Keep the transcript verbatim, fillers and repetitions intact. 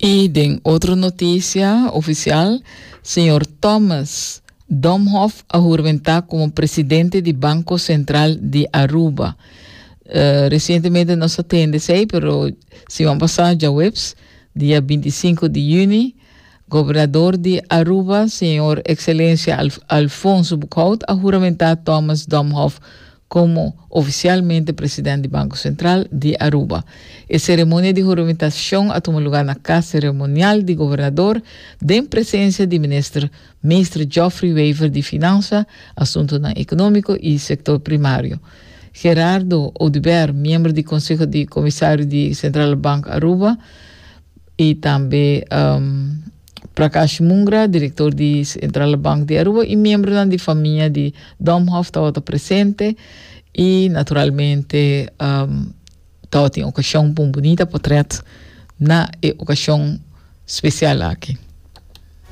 I den otro notisia ofisial, señor Thomas Domhoff a huramentá komo presidente di Banko Sentral di Aruba. Uh, resientemente nos a tende esei, pero siman pasá, djaweps, dia bintisinku di yüni, gobernador di Aruba, señor Ekselensia Alf Alfonso Boekhoudt, a huramentá Thomas Domhoff komo ofisialmente presidente di Banko Sentral di Aruba. E seremonia di huramentashon a tuma lugá na Kas Seremonial di Gobernador, den presensia di minister, minister Geoffrey Wever di Finansa, Asuntonan Ekonómiko i Sektor Primario. Gerardo Oduber, miembro di Konseho di Komisario di Centrale Bank Aruba, i tambe um, Prakash Mungra, direktor di Centrale Bank di Aruba, i miembro di famia di Domhoff tabata presente i naturalmente um, tabatin okashon pa un bunita portrèt na e okashon spesial aki.